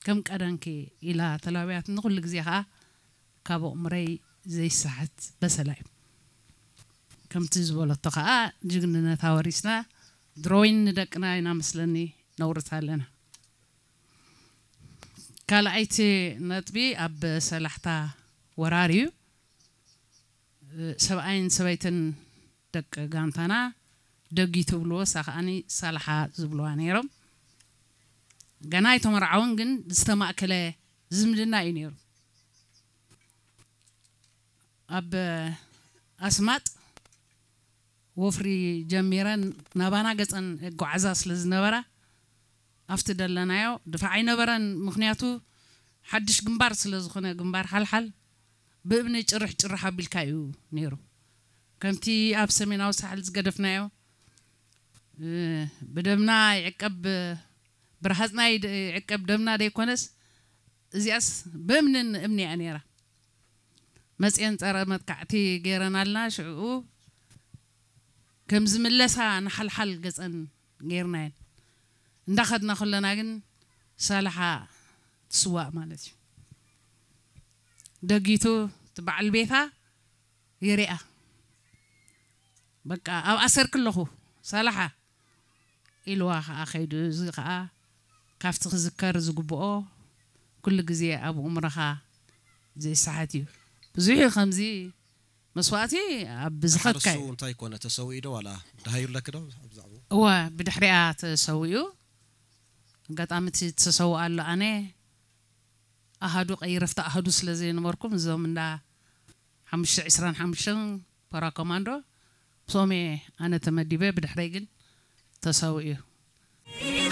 ከም ቀደምኪ ኢላ ተላብያትኒ። ኩሉ ግዜ ከዓ ካብ ኣእምሮይ ዘይሰሓት በሰላ እዩ። ከምቲ ዝበለቶ ከዓ ጅግንነት ኣወሪስና ድሮይን ንደቅና ኢና መስለኒ ነውርት ኣለና። ካልኣይቲ ነጥቢ ኣብ ሰላሕታ ወራር እዩ። ሰብኣይን ሰበይትን ደቂ ጋንታና ደጊ ትብልዎ፣ እሳ ከዓኒ ሳላሓ ዝብልዋ ነይሮም። ገና ኣይተመርዓውን፣ ግን ዝተማእከለ ዝምድና እዩ ነይሩ። ኣብ ኣስማጥ ወፍሪ ጀሚረን ናባና ገጸን ጓዓዛ ስለ ዝነበራ ኣብቲ ደለናዮ ድፋዕ ኣይነበረን። ምኽንያቱ ሓድሽ ግንባር ስለ ዝኾነ፣ ግንባር ሓልሓል ብእብኒ ጭርሕ ጭርሕ ኣቢልካ እዩ ነይሩ። ከምቲ ኣብ ሰሜናዊ ሳሕል ዝገደፍናዮ፣ እ፣ ብደምና ይዕቀብ፣ ብረሃጽና ይድ-፣ ይዕቀብ ደምና ደይኮነስ፣ እዚኣስ ብእምንን እምኒ እያ ነይራ። መጽየን ጸረ መጥቃዕቲ ገይረናልና፣ ሽዕኡ ከም ዝምለሳ ንሓልሓል ገጸን ገይርናየን። እንዳኸድና ከለና ግን ሳላሓ ትስዋእ ማለት እዩ። ደጊቱ እቲ በዓል ቤታ ይሪኣ። በቃ ኣብ ኣሰርክ ኣለኹ ሳላሓ ኢልዋ ከዓ ከይዱ። እዚ ከዓ ካብቲ ክዝከር ዝግብኦ ኩሉ ግዜ ኣብ እምሮኻ ዘይሰሓት እዩ። ብዙሕ እዩ ከምዚ መስዋእቲ ኣብ ዝኸድካ ሓርሱ እዩ። እንታይ ኮነ፣ ተሰዊኡ ዶ ዋላ ደሃዩ ኣለኪ ዶ ኣብ ዛዕባኡ? እወ፣ ብድሕሪኣ ተሰዊኡ። ኣጋጣሚ እቲ ተሰውእ ኣሎ፣ ኣነ ኣሃዱ ቀይረፍቲ ኣሃዱ ስለ ዘይነበርኩም፣ እዞም እንዳ ሓሙሽተ ዕስራን ሓሙሽተን ፓራ ኮማንዶ ምስኦም እየ ኣነ ተመዲበ። ብድሕረይ ግን ተሰዊኡ እዩ።